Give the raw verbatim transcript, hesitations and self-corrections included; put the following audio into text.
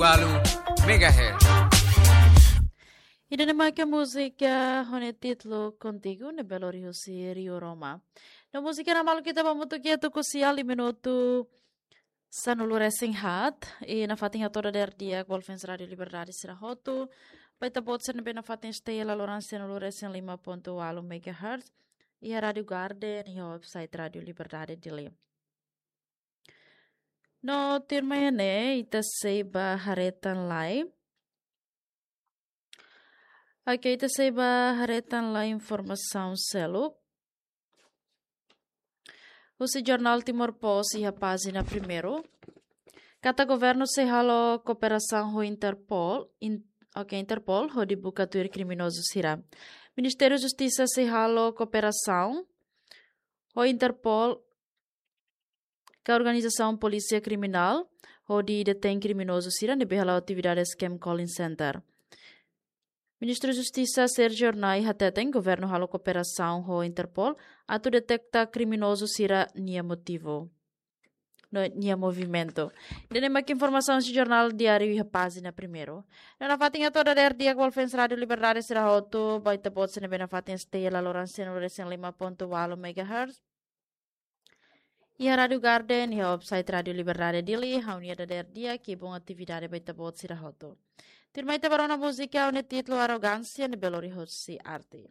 Walu megahertz. Ida-ne'e mak múzika ho nia títulu Contigo, ne'ebé lori husi Rio Roma. No múzika ida-ne'e mak ita mutu ke tu kusia li minutu sanulu resin haat, i nafatin hato'o dadeer di'ak ba fans Rádio Liberdade sira hotu, ba ita-boot sira ne'ebé nafatin stay la loron sanulu resin lima pontu walu megahertz, iha Rádio Garden, iha website Rádio Liberdade Dili. No tuirmai ne'e, ita sei ba haree tan lai. Oke, ita sei ba haree tan lai informasaun seluk. Husi jornál Timor Post iha pájina primeiru. Katak governu sei halo kooperasaun ho Interpol, in-, oke, Interpol, hodi buka tuir kriminozu sira. Ministériu Justisa sei halo kooperasaun ho Interpol, ka organizasaun polísia kriminál, hodi detein kriminozu sira ne'ebé hala'o atividade scam calling center. Ministru Justisa Sérgio Hornai hateten governu halo kooperasaun ho Interpol atu deteta kriminozu sira-nia motivu no nia movimentu. Ida-ne'e mak informasaun husi jornál diáriu iha pájina primeiru. No nafatin hato'o dadeer di'ak ba fans Rádio Liberdade sira hotu, ba ita-boot sira ne'ebé nafatin stay la loron sanulu resin lima pontu walu megahertz, iha Rádio Garden, iha website Rádio Liberdade Dili, ha'u-nia dadeer di'ak, kibun atividade ba ita-boot sira hotu. Tuirmai ita ba rona múzika ho nia títulu Arrogância, ne'ebé lori husi Arte.